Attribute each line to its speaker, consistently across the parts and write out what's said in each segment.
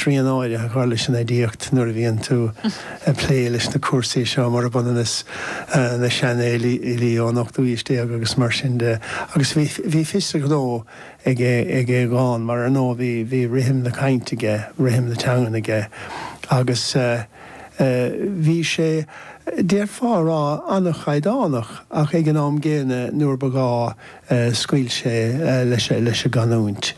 Speaker 1: srian áirithe a chur leis an aidiacht nuair a bhíonn tú ag plé leis na cúrsaí seo, murab ionann is na seanfhilí ón ochtú haois déag agus mar sin de. Agus bhí, bhí fios a ghnó ag, ag Aodhagán mar ar ndóigh bhí, bhí rithim na cainte aige, rithim na teangan aige agus bhí sé, d'fhéadfá a rá, an-chaighdeánach ach ag an am gcéanna nuair ba ghá scaoil sé leis an gcanúint.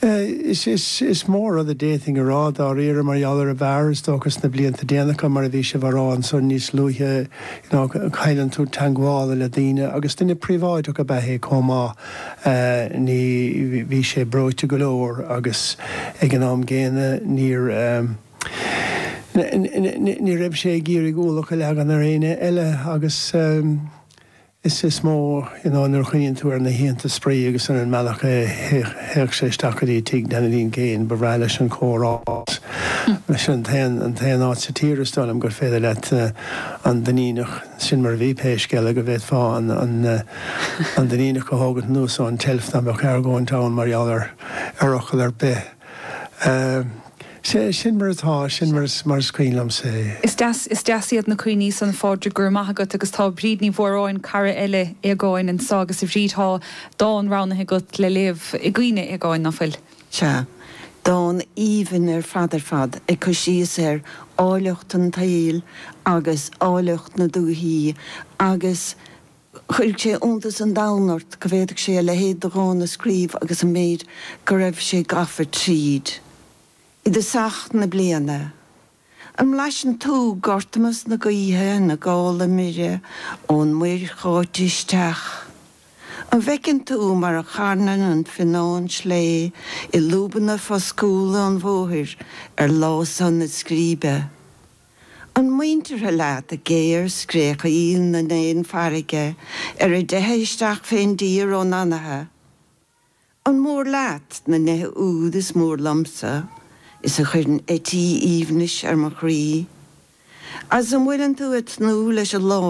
Speaker 1: Is mó rud a d'fhéadfainn a rá dáiríre mar gheall ar an bhfear, is dócha sna blianta déanacha, mar a bhí sibh á rá ansan níos luaithe, you know, cailleann tú teangmháil le daoine agus duine príobháideach ab ea é chomh maith. Ní, bhí sé breoite go leor agus ag an am gcéanna níor, ní raibh sé ag iarraidh ualach a leagan ar éinne eile agus. Is is mó, you know, nuair a chuimhníonn tú ar na hoícheanta spraoi agus ar an mbealach a théadh sé isteach go dtí tigh Danileen Kane, ba bhreá leis an chomhrá. Sin an t-aon, an t-aon áit sa tír, is dóigh liom, gur féidir leat an Duinníneach, sin mar a bhí pé scéal é, go bhféadfá an, an, an Duinníneach a thógaint anuas ón tseilf dá mbeadh argóint ann mar gheall ar, ar fhocal ar bith. Sea, sin mar atá, sin mar is, mar is cuimhin liomsa é.
Speaker 2: Is deas, is deas iad na cuimhní san, a Phádraig, go raibh maith agat. Agus tá Bríd Ní Mhóráin, cara eile Aodhagáin, anseo agus a Bhríd, tá dán roghnaithe agat le léamh i gcuimhne Aodhagáin, ná fuil?
Speaker 3: Sea. Dán aoibhinn ar fad ar fad, ag cur síos ar áilleacht an tsaoil agus áilleacht na dúichí agus chuirfeadh sé iontas an domhain ort go bhféadfadh sé a leithéid de dhán a scríobh agus an méid go raibh sé gafa tríd. I dtosach na bliana. An mblaiseann tú gortamas na gaoithe ina gála mire ón muir cháite isteach? An bhfeiceann tú mar a charnann an fionnán slé i lúbanna foscúla an bhóthair ar lá sona scríbe? An muinteartha leat géar-scréachaíl na n-éan farraige ar a dteitheadh isteach fén dtír ón anaithe? An mór leat na nithe úd is mór liomsa is a chuireann eití aoibhnis ar mo chroí? Agus an bhfuileann tú ag tnúth leis an lá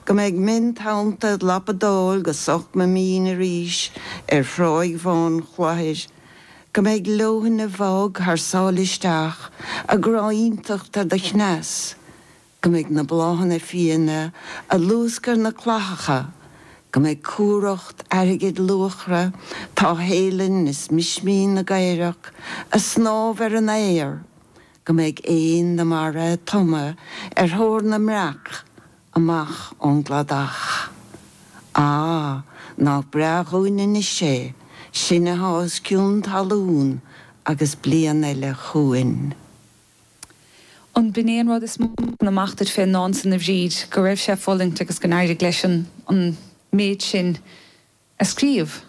Speaker 3: go mbeidh mion-tonnta ag lapadáil go sochma mín arís ar thráigh bhán Chloichir Go mbeidh leoithne bhog thar sáile isteach a gcráinteacht ar do chneas, go mbeidh na bláthanna fiaine a luascadh ar na clathacha, go mbeidh cumhracht airgid luachra táthshéalainn is mismín na gcaorach a snámh ar an aer, go mbeidh éin na mara ag tumadh ar thóir na mbreac amach ón gcladach. Á, nach breá dhúinn anois é, sinn athá os cionn talún agus bliain eile chugainn.
Speaker 2: An b'in é an rud is mó a thagann amach duit fén ndán san, a Bhríd, go raibh sé ag fulaingt agus go n-éirigh leis an méid sin a scríobh?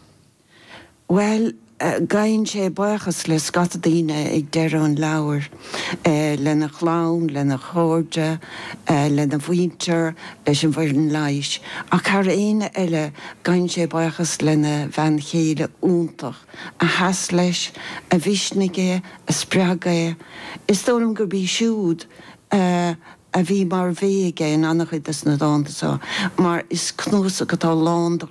Speaker 3: Bhuel, gabhann sé buíochas le scata daoine ag deireadh an leabhair, lena chlann, lena chairde, lena mhuintir, leis an bhfoireann leighis, ach thar éinne eile, gabhann sé buíochas lena bhean chéile iontach, a sheas leis, a mhisnigh é, a spreag é. Is dóigh liom gurb í siúd a bhí mar bhé aige in an-chuid de na dánta seo, mar is cnuasach atá lán de.